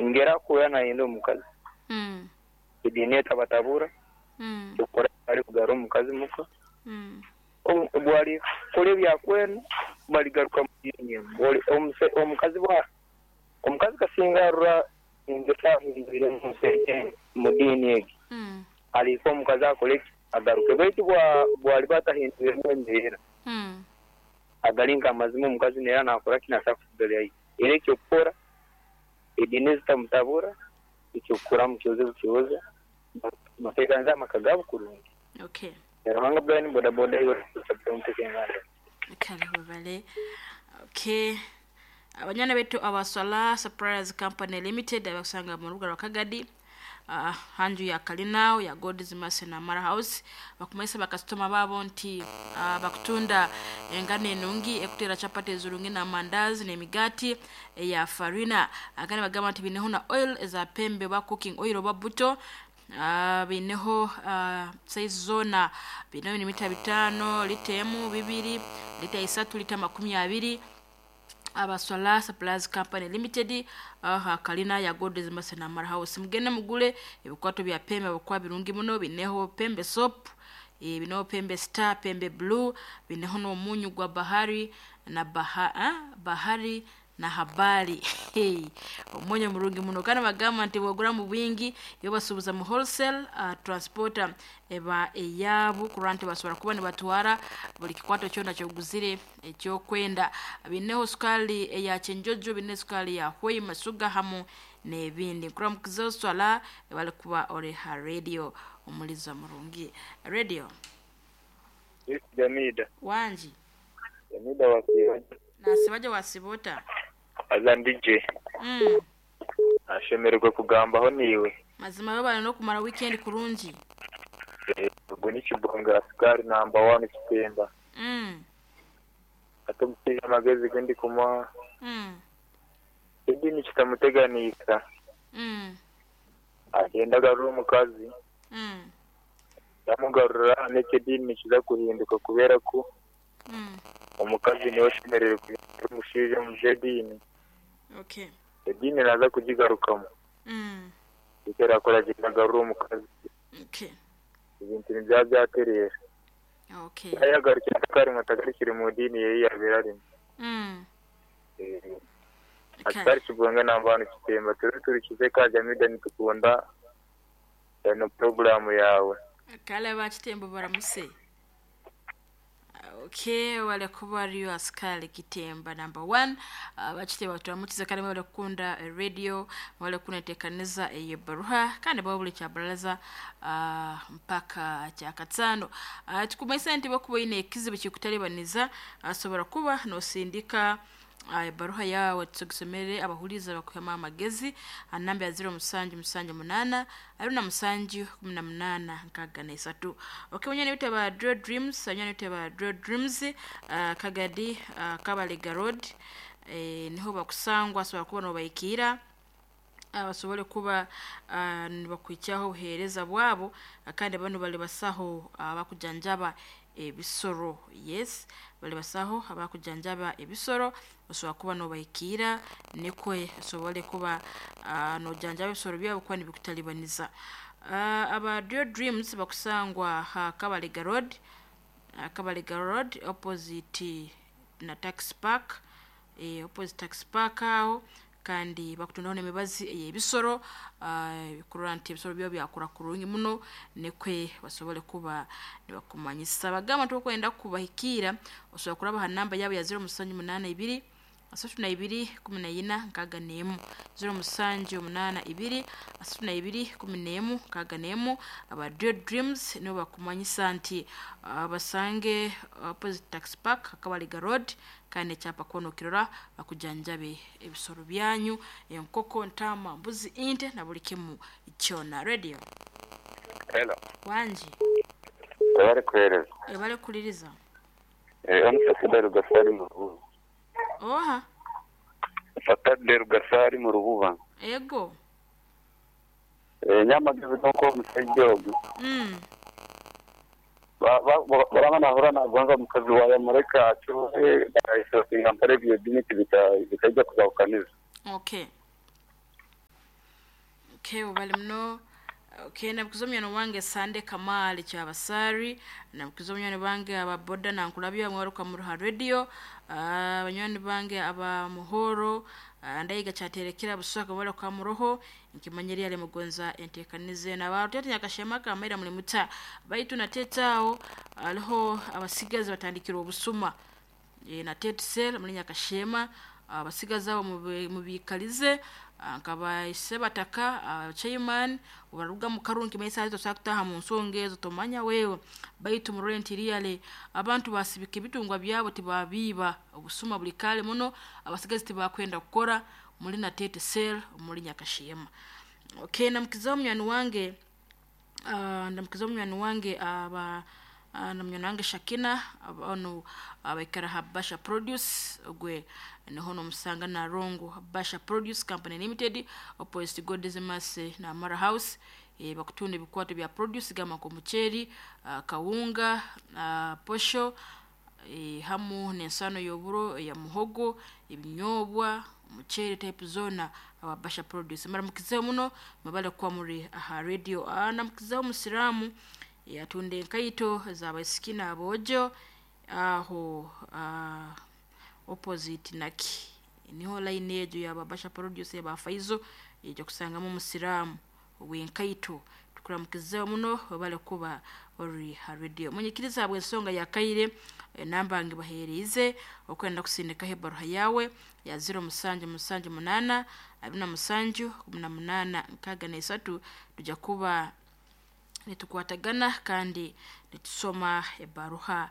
Engeri akuhurra nayenda omukazi, ediini etabatabura, ekyokukora ali kugarra omukazi muka, obu alikora ebyakwenda baligaruka mu diini emu. Omukazi bwa omukazi kasinga arora engeso ahindwire mu diini egi, alihika omukazi akole ki? Agaruke. Baitu bwaliba atahindwiremu embeera, agali nk'amazima omukazi naira nakora ki? Nasobora kusigara Era eky'okukora, ediini ezitamutabura, eky'okukora mukyoze bukyoza, bateekanize amaka gaabo kurungi. Okay. Ruhanga Brian boda boda iwe omuteeka enganda. Kale webale. Okay. Abanywana baitu aba Swala Suppliers Company Limited abakusanga mu rubuga rwa Kagadi hanju ya Kalinao ya God's Mercy na Mara House bakumanyisa bakasitoma baabo nti bakutunda engano enungi ekutera chapati ezirungi na mandazi n'emigaati eya farina. Kandi bagamba nti bineho na oil eza pembe oba cooking oil oba buto. Bineho size zoona, bineho mita bitaano, lita emu, bibiri, lita isatu, lita makumi abiri. Aba Swala Suppliers Company Limited aha kalina ya God's Mercy Namara House. Mugende mugule ebikwato bya pembe habwokuba birungi muno, bineho pembe soap, bineho pembe star, pembe blue, bineho n'omunyu gwa bahari na baha, bahari na habari. Omunyu murungi muno kandi bagamba nti bwogura mu bwingi ibo basuubuza mu wholesale, transporter eba eyabu kurora nti basobora kuba nibatwara buli kikwato kyona kyoguzire Eky'okwenda, biineho sukaali eya kyenjojo, biine sukaali ya hoima sugar hamu n'ebindi. Nkuramukize oswala ebali kuba ori ha radio omuliza murungi. Radio. Miss Jamida. Wangi. Jamida wasiiba gye? Nasiiba gye wasiiba ota? Haza ndi gye. Nashemererwa kugambaho naiwe. Mazima webale n'okumara weekend kurungi. Ogu ni Kibonge Askari namba wani Kitemba. Hati omushaija amagezi agu ndikumuha, ediini kitamuteganiisa, agyende agarure omukazi, yamugarura n'eky'ediini nikiza kuhinduka kubeera ku omukazi niwe oshemereire kuhindura omushaija omu by'ediini, ediini naaza kugigarukamu. Eki araakore agyende agarure omukazi, ebintu nibyaba byatereera. Okay. Yayagarukire atakarimu atagarukire mu diini ye ei yabaire arimu. Kale. Atari Kibonge namba hanu Kitemba tube turikize ka Jamida nitukunda eno puroguramu yawe. Kale aba Kitemba baramuse. Okay, wale kuba ariyo askari Kitemba number one. Abakitemba turamukize kandi mwebale kukunda radio, mwebale kukunda enteekaniza ey'ebaruha kandi bawe buli kyabaralaza mpaka kyakataano. Tukumanyisa nti bwokuba oine ekizibu ekikutalibaniza, asobora kuba nosindika ebaruha yaawe tugisomere abahuliiriza bakuhemu amagezi ha namba ya ziro musanju musanju munaana abiri na musanju kumi na munaana nkaaga na isatu. Okay, banywani baitu aba Draw Dreams, banywani baitu aba Draw Dreams, Kagadi, Kabalega Road, niho bakusangwa, asobora kuba nobahikiira basobole kuba nibakuhikyaho obuheereza bwabo kandi banu bali basaho abakujanjaba ebisoro. Yes, bali basaho abakujanjaba ebisoro, osobora kuba nobahikiira nikwo osobole kuba nojanjaba ebisoro byawe kuba nibikutalibaniza. Aba Rio Dreams bakusangwa ha Kabalega Road, Kabalega Road opposite na Taxi Park, opposite Taxi Park aho kandi bakutundaho n'emibazi ey'ebisoro kurora nti ebisoro byawe byakura kurungi muno nikwo basobole kuba nibakumanyisa. Bagamba nti obu okwenda kubahikiira osobora kuraba ha namba yabo ya ziro musanju munaana ibiri, asatu na ibiri, kumi na ina, nkaaga n'emu. Ziro musanju munaana ibiri, asatu na ibiri, kumi n'emu, nkaaga n'emu. Aba Rio Dreams nibo bakumanyisa nti basange opposite Taxi Park, Kabalega Road kandi n'ekyapa kwona okirora bakujanjabe ebisoro byanyu, enkoko, ntaama, mbuzi, ente na buli kimu kyona. Radio. Hello. Wangi. Webale kuhereza. Webale kuhuliriza. Onu Saturday Rugasari mu Rububa. Oha? Saturday Rugasari mu Rububa. Ego. Nyowe amagezi gonka omusaija ogu. Baraba nahurra nagonza omukazi waye amureke acuhe barahisasinga mpora ebyo edini tibikaija kuzahukaniza. Okay. Okay, ubali muno. Okay, namukiza omunywani wange Sande Kamali Kyabasari, namukiza omunywani bange aba boda nankulabya mwaruka muruha radio, abanywani bange aba Muhoro, ndayiga kyaterekera buswaka bala kwa muroho nkimanyeri ale mugonza entekanize na barutete nyakashema kamaira muli muta baitu natetao aliho abasigazi batandikira obusuma na tetsel muri nyakashema abasigazi abo mubikalize nkaba sebataka chairman ubaruga mu karungi mesa zo sakutaha mu nsonga ezo tomanya wewe baitu mu rent reale abantu basibika ebitungwa byabo tibabiba obusuma buli kale muno abasigazi tibakwenda kukora muri na tete sel muri nyakashema. Okay, namukiza munywani wange ndamukiza munywani wange aba na munywani wange Shakina ono abaikara Habasha Produce ogwe niho nomusanga na Rongo Habasha Produce Company Limited opposite God's na Mara House. Bakutunda ebikwato bya produce gama ko mucheri, kawunga, posho, hamu n'ensano y'oburo ya muhogo, ebinyobwa, mucheri type zona Habasha Produce. Maramukizeho muno mubale kwa muri aha radio. Namukizeho musiramu yatunde enkaito z'abaisiki abojo aho opposite naki niho line ejo ya Babasha Produce ya Faizo ejja kusangamu musiramu wenkaito. Tukuramukizeho muno bale kuba ori ha radio. Munyikiriza bwe ensonga ya kaire namba nge bahereze okwenda kusindika hebaruha yawe ya 0778 27 18 63 tujja kuba nitukwatagana kandi nitusoma ebaruha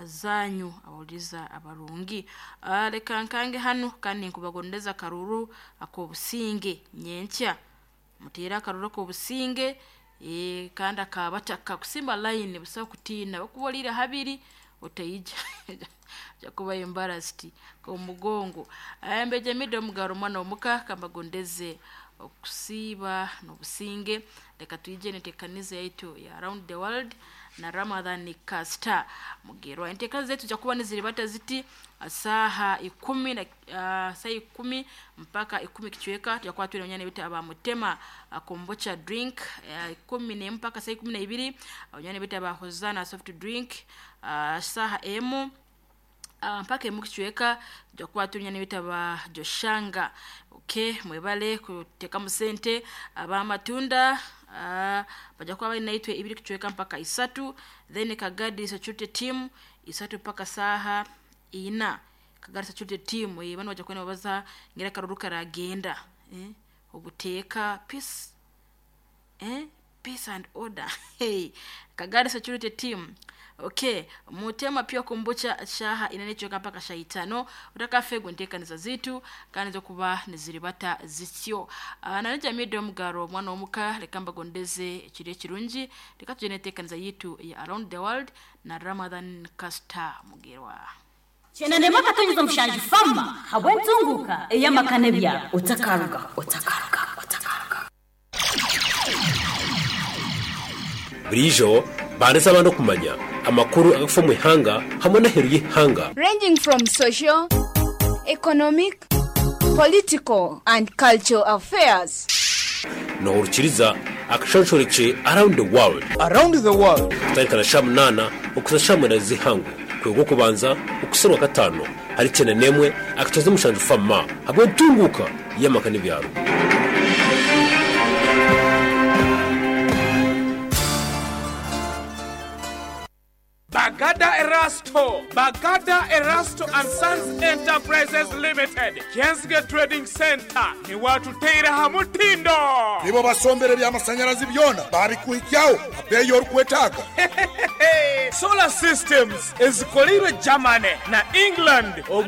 zanyu abawuliza abarungi. Reka nkange hano kandi nkubagondeza karuru akobusinge nyenkya mutera akaruru akobusinge kandi akabataka kusimba line busa kutina bakubolira habiri otayija jakuba embarrassed ko mugongo. Ayambeje mido mugaro mwana omuka kambagondeze okusiba n'obusinge. Reka tuyije netekanize yaitu ya around the world na Ramadhan Kasta Mugerwa. Entekanize zetu jakuba niziribata ziti saha 10 na saa 10 mpaka 10 kichweka tujakuwa tuli onyane bita aba mutema kombocha drink 10 mpaka saa 12 onyane bita aba Hosana soft drink saha emu mpaka emu kichweka tujakuwa tuli onyane bita aba Joshanga. Okay, mwebale kuteka musente aba matunda bajakuwa bali naitwe 2 kichweka mpaka 3, then Kagadi security team 3 mpaka saha 4. Kagadi security team bano bajakuwa babaza ngira karuru karagenda obuteka peace peace and order. Hey, Kagadi security team. Okay, mutema pia kombocha shaha inanechoka mpaka shaitano utakafegwe ntekaniza zitu kandi zokuba niziribata zityo. Nanija mido mugaro mwana omuka lekamba gondeze ekiri kirungi reka tugende ntekaniza yitu ya around the world na Ramadhan Kasta Mugerwa. Chenende maka tonyiza mushanju fama habwentunguka eyamakane bya otakaruga otakaruga otakaruga Burijo bandesa abantu kumanya amakuru agafa mu ihanga hamwe n'aheru y'ihanga, ranging from social, economic, political and cultural affairs. Nohurukiriza akashonshoreke around the world, around the world kutarikana sha 8 okuza sha 8 zihangu kwego kubanza okuserwa 5 hari 91 akatoza mushanju fama habwe ntunguka y'amakane byaro. Bagada Erasto, Bagada Erasto and Sons Enterprises Limited, Kensge Trading Center, ni watu teira hamutindo. Nibo basombere by'amasanyarazi byona babikuhikyaho abeyo orukwetaaga. Solar systems ezikolirwe Germany na England.